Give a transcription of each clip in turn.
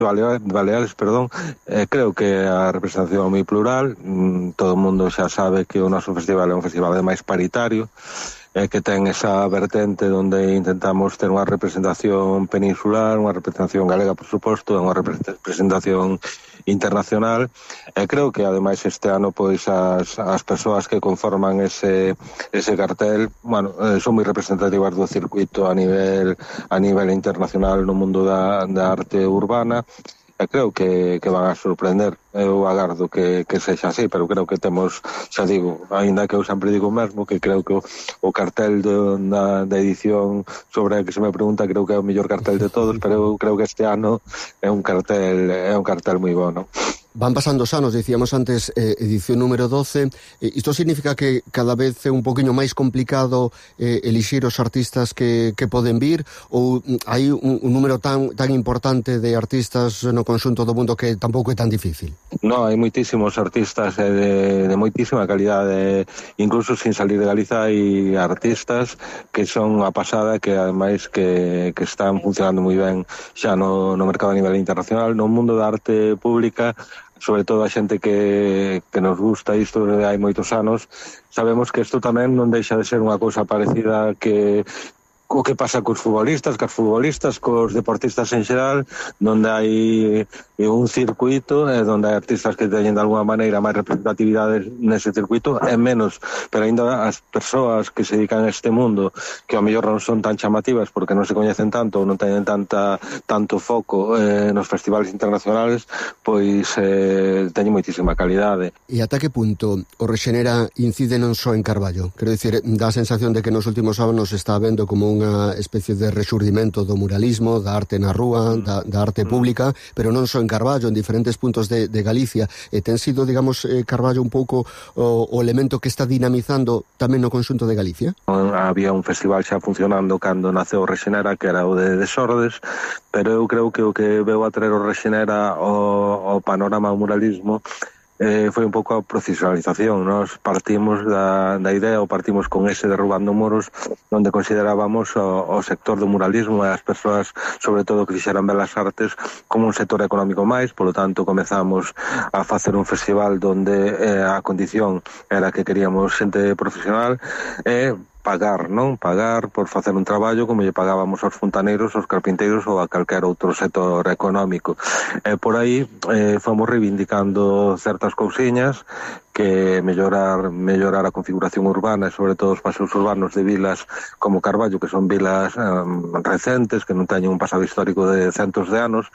Baleares, creo que a representación é moi plural. Todo o mundo xa sabe que o noso festival é un festival máis paritario, que ten esa vertente onde intentamos ter unha representación peninsular, unha representación galega, por suposto, unha representación internacional. Creo que ademais este ano pois as persoas que conforman ese cartel, son moi representativas do circuito a nivel internacional no mundo da arte urbana. Creo que van a sorprender. Eu agardo que sexa así, pero creo que temos, xa digo, aínda que eu sempre digo mesmo, que creo que o cartel da edición sobre a que se me pregunta, creo que é o mellor cartel de todos, pero eu creo que este ano é un cartel moi bueno. Van pasando os anos, dicíamos antes, edición número 12. Isto significa que cada vez é un poquinho máis complicado elixir os artistas que poden vir, ou hai un número tan importante de artistas no conxunto do mundo que tampouco é tan difícil? No, hai moitísimos artistas de moitísima calidade, incluso sin salir de Galiza hai artistas que son a pasada, que ademais que están funcionando moi ben xa no mercado a nivel internacional, no mundo da arte pública. Sobre todo a xente que nos gusta isto de hai moitos anos, sabemos que isto tamén non deixa de ser unha cousa parecida o que pasa cos futbolistas, cos deportistas en xeral, onde hai un circuito, onde hai artistas que teñen de alguma maneira máis representatividade nese circuito, e menos, pero ainda as persoas que se dedican a este mundo, que ao mellor non son tan chamativas porque non se coñecen tanto, ou non teñen tanto foco nos festivales internacionales, pois teñen moitísima calidade. E ata que punto o Rexenera incide non só en Carballo? Quero dicir, dá a sensación de que nos últimos anos está vendo como unha especie de resurdimento do muralismo, da arte na rúa, da arte pública, pero non só en Carballo, en diferentes puntos de Galicia. E ten sido, digamos, Carballo un pouco o elemento que está dinamizando tamén no conxunto de Galicia? Había un festival xa funcionando cando naceu o Rexenera, que era o de Desordes, pero eu creo que o que veu a traer o Rexenera ao panorama do muralismo foi un pouco a profesionalización. Nos partimos da idea, ou partimos con ese Derrubando Muros, onde considerábamos o sector do muralismo e as persoas, sobre todo, que fixeran belas artes como un sector económico máis. Polo tanto, comezamos a facer un festival onde a condición era que queríamos xente profesional e pagar por facer un traballo como lle pagábamos aos fontaneiros, aos carpinteiros ou a calquer outro sector económico. Por aí fomos reivindicando certas cousiñas, que mellorar a configuración urbana e sobre todo os paseos urbanos de vilas como Carballo, que son vilas recentes, que non teñen un pasado histórico de centos de anos,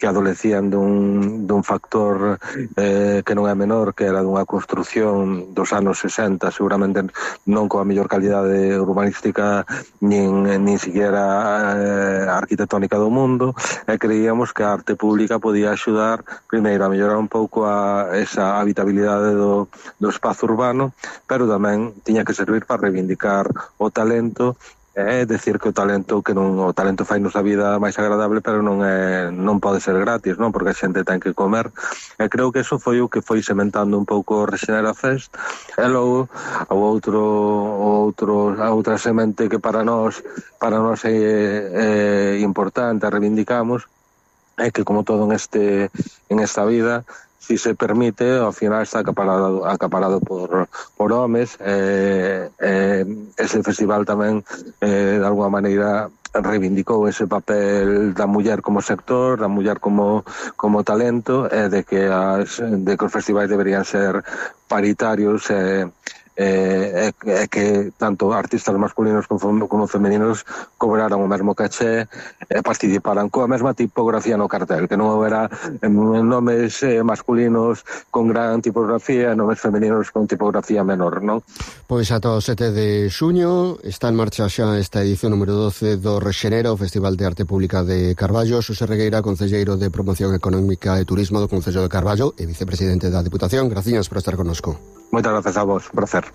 que adolecían dun factor que non é menor, que era dunha construción dos anos 60, seguramente non coa mellor calidade urbanística nin siquiera arquitectónica do mundo, e creíamos que a arte pública podía axudar primeiro a mellorar un pouco esa habitabilidade do espazo urbano, pero tamén tiña que servir para reivindicar o talento, é decir que o talento fainos a vida máis agradable, pero non pode ser gratis, non? Porque a xente ten que comer. E creo que eso foi o que foi sementando un pouco o Rexenera Fest. E logo a outra semente que para nós é importante, a reivindicamos, é que como todo en esta vida, si se permite, ao final está acaparado por homes. Ese festival tamén de alguma maneira reivindicou ese papel da muller como sector, da muller como talento, e de que os festivais deberían ser paritarios, e que tanto artistas masculinos como femeninos cobraran o mesmo caché e participaran coa mesma tipografía no cartel, que non houbera nomes masculinos con gran tipografía e nomes femeninos con tipografía menor, non? Pois ata o 7 de xuño está en marcha xa esta edición número 12 do Rexenera, o Festival de Arte Pública de Carballo. Xosé Regueira, concelleiro de Promoción Económica e Turismo do Concello de Carballo e vicepresidente da Diputación, graciñas por estar connosco. Moitas gracias a vos, placer.